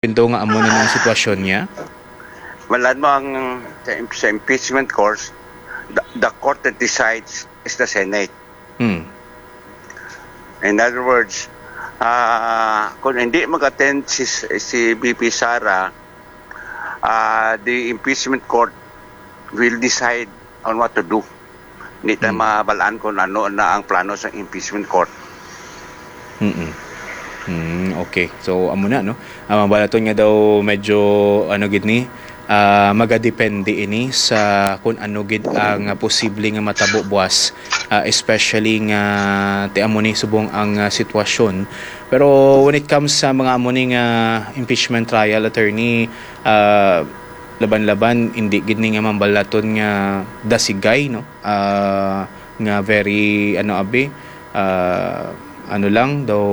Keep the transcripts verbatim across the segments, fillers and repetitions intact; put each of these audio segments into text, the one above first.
Pinto nga amo na ang sitwasyon niya? Malan mo ang sa, sa impeachment court, the, the court that decides is the Senate. Hmm. In other words, ah, kung hindi mag-attend si, si V P Sara, ah, the impeachment court will decide on what to do. Hindi ta Hmm. mabalaan kung ano na ang plano sa impeachment court. Mm. Mm, okay. So, amo na, no? Ang balaton nga daw medyo, ano gid ni, ah, magadepende ini sa kung ano gid ang posible nga matabo buwas, ah, especially nga ti amo ni subong ang, ah, sitwasyon. Pero when it comes sa mga amo ni nga impeachment trial, attorney, ah, laban-laban, hindi gid ni nga mambalaton nga dasigay, no? Ah, nga very, ano, abi, ah, ano lang, daw,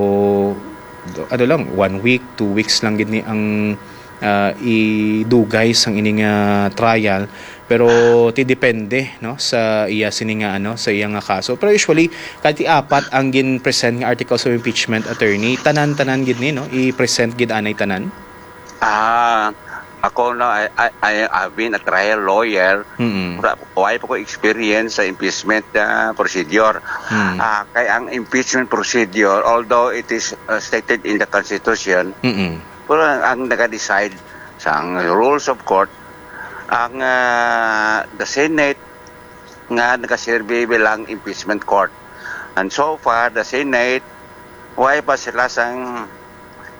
daw, ano lang, one week, two weeks lang gid ni ang, ah, idugay sang ini nga trial. Pero ti depende, no, sa iya sini nga, ano, sa iya nga kaso. Pero usually, kati apat ang gin-present nga articles of impeachment, attorney. Tanan-tanan gid ni, no? I-present gid anay tanan. Ah, ako na, I, I, I have been a trial lawyer Mm. Wala, wala pa ko experience sa impeachment ah, procedure. Mm. Ah, kay ang impeachment procedure, although it is uh, stated in the Constitution, Mm. pero ang, ang nag-decide sa ang rules of court, ang ah, the Senate nga nagaserve bilang impeachment court. And so far, the Senate, why pa sila sang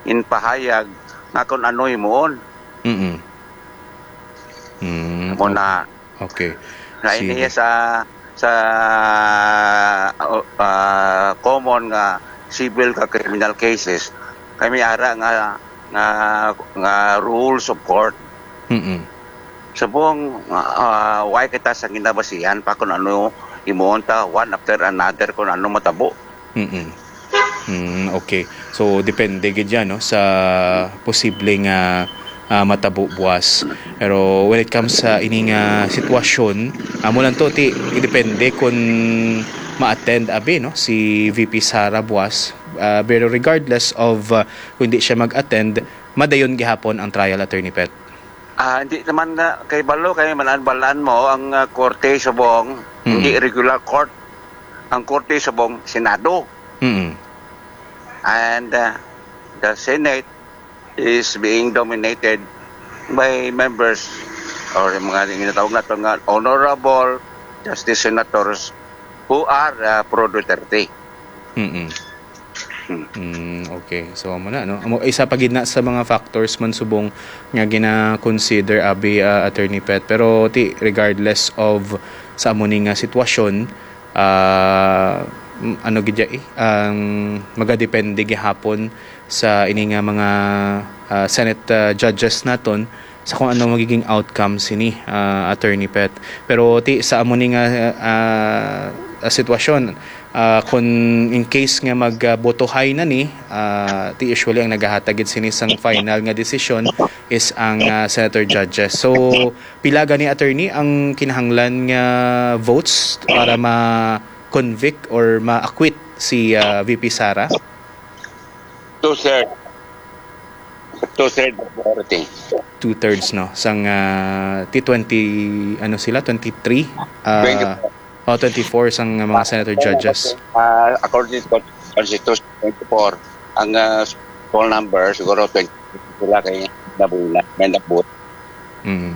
inpahayag nga kung ano himuon? Mm. Mm. Mo na Okay. na Sige. Ini sa sa uh, uh, common nga civil ka criminal cases, kay may ara nga nga nga rules of court. Mm. Subong uh, why kita sa ginabasihan pa kung ano imuon ta one after another kung ano matabo. Mm. Mm, okay. So depende gid yan, no, sa posible nga ah, matabo buwas. Pero when it comes sa ini nga sitwasyon, amo lang to ti depende kung ma-attend abi, no, si V P Sara buwas. Ah, pero regardless of ah, kung di siya mag-attend, madayon gihapon ang trial, Attorney Pet. Ah, hindi naman na kay balo kay manan-balaan mo ang ah, korte subong, Mm. hindi regular court. Ang korte subong Senado. Mm. And uh, the Senate is being dominated by members or yung mga ginatawag nato nga honorable justice senators who are uh, pro Duterte. Mm. Hmm. Mm, okay. So amo na, no. Amo isa pa gid na sa mga factors man subong nga gina-consider abi ah, Attorney Pet. Pero ti regardless of sa amo ni nga sitwasyon, ah, m- ano gid ya, eh, ang magadepende gihapon sa ini nga mga ah, Senate ah, judges naton sa kung ano magiging outcome sini, ah, Attorney Pet. Pero ti sa amo ni nga ah, ah, sitwasyon, ah, kung in case nga magbotohay na ni, ah, ti usually ang nagahatag gid sini sang final nga desisyon is ang ah, senator judges. So pila gani, attorney, ang kinahanglan nga votes para ma-convict or ma-acquit si ah, V P Sara? Two-thirds. Two-thirds majority. Two-thirds, no, sang ah, ti twenty, ano sila, twenty-three? Ah, Twenty-four. Oh, twenty-four sang mga senator judges. Uh, according to Constitution twenty-four, ang uh, full number siguro twenty sila kay nabuhi na, may nabuhi. Mm.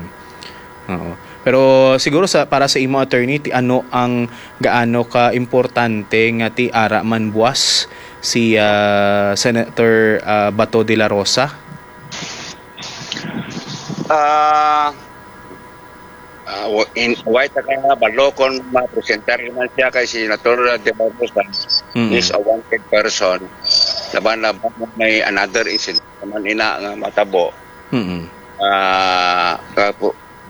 Oo. Pero siguro sa para sa imo, attorney, ti ano ang gaano ka importante nga ti ara man buwas si ah, Senator ah, Bato de la Rosa? Ah, ah, wa- in, why ta ka balo kung mapresentar naman siya kay Senator De La Rosa Mm. is a wanted person. Laban laban may another incident naman ina nga matabo. Mm. Ah, ka-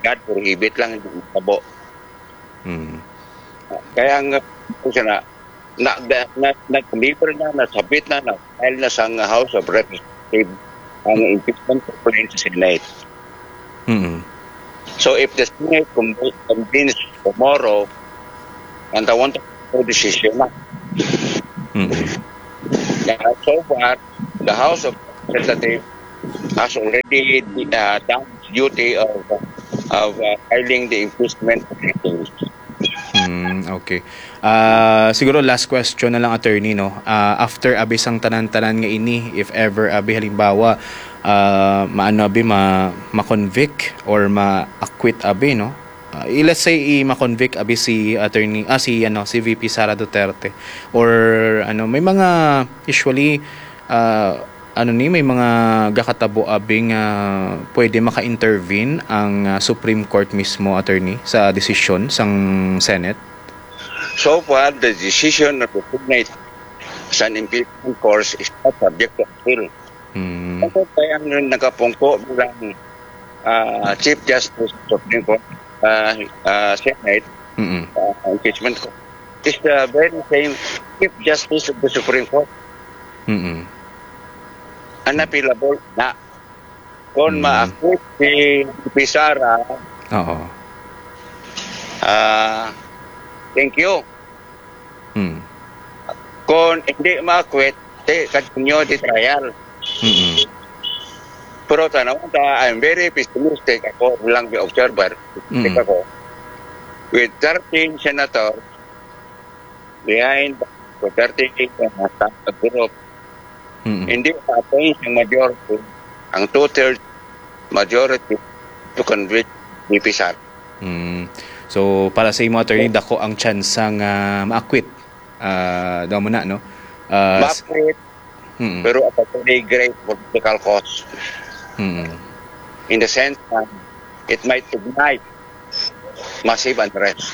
God prohibit lang hindi matabo. Mm. Kaya nga po siya na na, na, na, nag-deliver na, nasabit na, na-file na sa House of Representatives ang impeachment complaint sa Senate. Mm. So if the Senate conv- convenes tomorrow, and I want to decision na. Mm. Kaya so far, the House of Representatives has already uh, done his duty of, of uh, filing the impeachment petition. Hmm, okay. Ah, siguro last question na lang, attorney, no? Ah, after abi sang tanan-tanan nga ini, if ever abi halimbawa, ah, maano abi ma ma-convict or ma-acquit abi, no? Ah, i-, let's say i ma-convict abi si attorney, ah, si ano, si V P Sara Duterte or ano, may mga usually, ah, ano ni, may mga gakatabo abi nga pwede maka-intervene ang, ah, Supreme Court mismo, attorney, sa desisyon sang Senate? So far, the decision of the Senate sa impeachment course is not subject to appeal. Hmm. Ako kaya ang nakapungko bilang ah, Chief Justice of Supreme Court, ah, ah, Senate, Mm-mm. ah, impeachment court, is the very same Chief Justice of the Supreme Court. Mm-mm. Unappealable na. Kung Mm. ma-acquit si Pisara, Oo. ah, thank you. Mm. Kung hindi ma-acquit, di continue the trial. Mm-mm. Pero tanaw ta, I'm very pessimistic ako lang bi observer. Mm. Ako, with thirteen senators behind, with thirteen, uh, group, Mm-mm. hindi ma-attain ang majority, ang two-thirds majority to convict V P Sara. Mm. So, para sa imo, attorney, dako ang tsansa nga ma-acquit. Ah, daw mo na, no? Ah, s- Ma-acquit, Mm. pero at a very great political cost. Mm. In the sense na it might ignite massive unrest.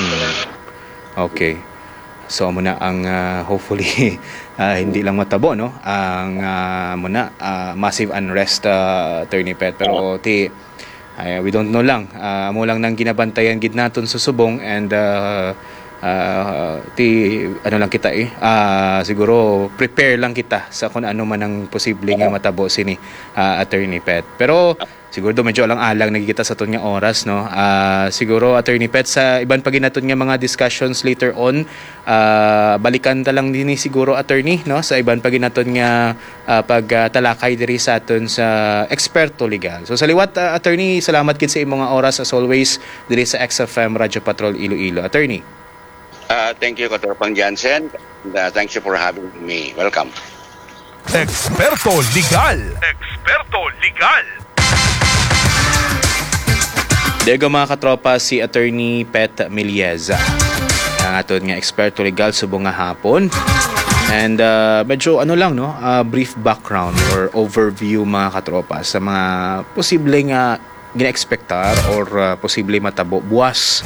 Mm. Okay. So, amo na ang, ah, hopefully, ah, hindi lang matabo, no? Ang, ah, amo na, ah, massive unrest, ah, Attorney Pet. Pero, Oo. ti, ay, we don't know lang. Ah, amo lang nang ginabantayan gid naton sa subong and, ah, ah, ti, ano lang kita eh. Ah, siguro prepare lang kita sa kung ano man ang posible nga matabo sini, ah, Attorney Pet. Pero siguro do medyo alang-alang na gid kita sa aton nga oras, no? Ah, siguro, Attorney Pet, sa iban pa gid naton nga mga discussions later on, ah, balikan ta lang din ni siguro, attorney, no? Sa iban pa gid naton nga, ah, pagtalakay diri sa aton sa eksperto legal. So, sa liwat, ah, attorney, salamat gid sa imo nga oras as always diri sa X F M Radyo Patrol Iloilo. Attorney. Ah, thank you, Katropang Jansen. And, ah, thank you for having me. Welcome. Eksperto Legal. Eksperto Legal. Dego, mga katropa, si Attorney Pet Milieza, ang aton nga eksperto legal subong nga hapon. And, ah, medyo ano lang, no, ah, brief background or overview, mga katropa, sa mga posible nga gina-expectar or, ah, posible matabo buwas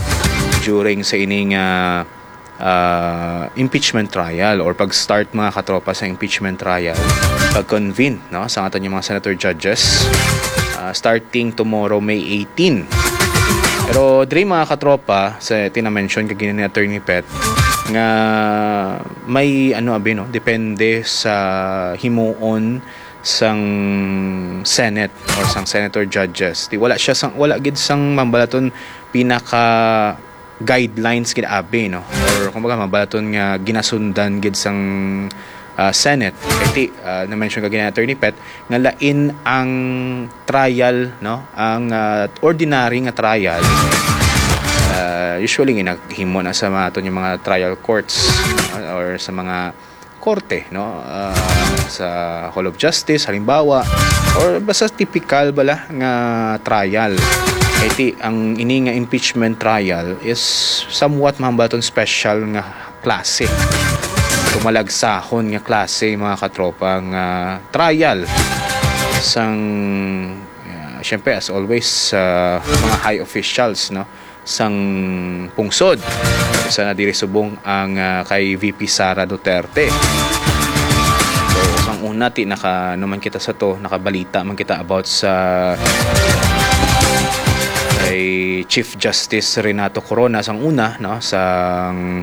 during sa ining, ah, ah, impeachment trial or pag-start, mga katropa, sa impeachment trial, pag-convene, no, sa aton nga mga senator judges, ah, starting tomorrow, May eighteen. Pero diri, mga katropa, sa tina-mention kagina ni Attorney Pet, nga may ano abi, no, depende sa himuon sang Senate or sang senator judges. Di wala siya sang, wala gid sang mambalaton pinaka guidelines gid abi, no? Or kumbaga, mabalaton nga ginasundan gid sang, ah, Senate. Kay ti, ah, na-mention ka gina Attorney Pet, nga lain ang trial, no? Ang, ah, ordinary nga trial, ah, usually nga naghimo na sa mga aton nga mga trial courts, ah, or sa mga korte, no? Ah, sa Hall of Justice, halimbawa, or basta typical bala nga trial. Kay ti, ang ini nga impeachment trial is somewhat mahambaton special nga klase. Tumalagsahon nga klase, mga katropa, nga trial sang, ah, syempre, as always, sa mga high officials, no? Sang pungsod. Isa na diri subong ang, ah, kay V P Sara Duterte. So, sang una, ti naka, ano man kita sa to, nakabalita man kita about sa kay Chief Justice Renato Corona sang una, no, sang,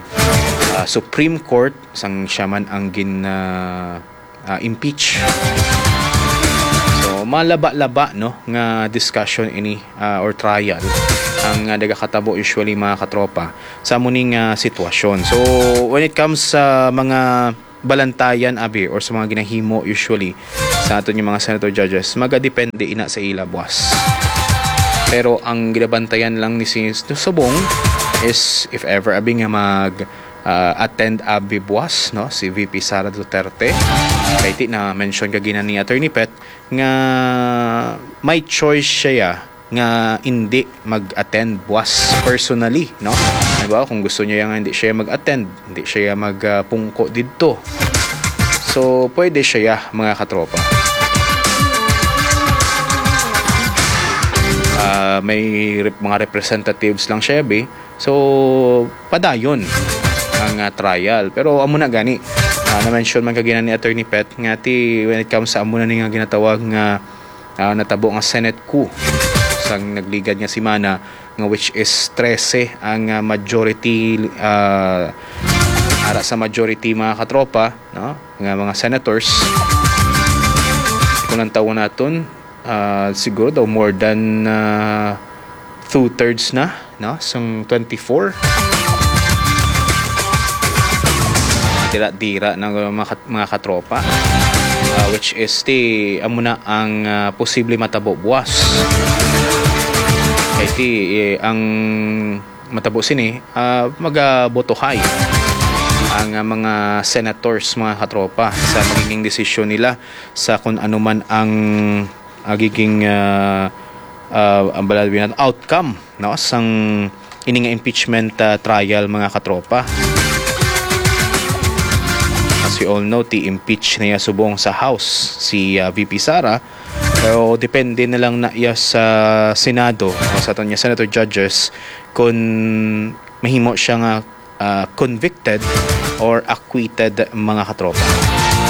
ah, Supreme Court, sang siya man ang gin, ah, ah, impeach. So, malaba-laba, no, nga discussion ini, ah, or trial ang, ah, nagakatabo usually, mga katropa, sa amo ni nga sitwasyon. So, when it comes sa mga balantayan abi or sa mga ginahimo usually sa aton nga mga senator judges, magadepende ina sa ila buwas. Pero ang ginabantayan lang ni si Subong is if ever abi nga mag ah, attend abi buwas, no, si V P Sara Duterte. Kay ti na mention kagina ni Attorney Pet nga may choice siya nga hindi mag-attend buwas personally, no? Halimbawa, kung gusto niya nga hindi siya mag-attend, hindi siya mag ah, pungko didto. So, pwede siya, mga katropa. Ah, may rep- mga representatives lang siya, bi. So, padayon ang ah, trial. Pero amo na gani, ah, na-mention man kagina ni Attorney Pet nga ti when it comes sa amo na ni nga ginatawag nga ah, natabo nga Senate coup sang nagligad nga semana, nga which is trese ang ah, majority, ah, ara sa majority, mga katropa, no, nga mga senators. Kung ang tawo naton, ah, siguro daw more than ah, two-thirds na, no, sang twenty-four. Dira-dira na mga, kat- mga katropa. Ah, which is ti amo na ang ah, posible matabo buwas. Kay ti eh, ang matabo sini, ah, magabotohay ang ah, mga senators, mga katropa, sa magiging desisyon nila sa kung ano man ang magiging ah, ah, ang bala-, outcome, no, sang ini nga impeachment ah, trial, mga katropa. As we all know, ti-impeach na niya subong sa House si ah, V P Sara. Pero depende na lang na iya sa Senado o sa aton nga senator judges kung mahimo siya nga ah, convicted or acquitted, mga katropa.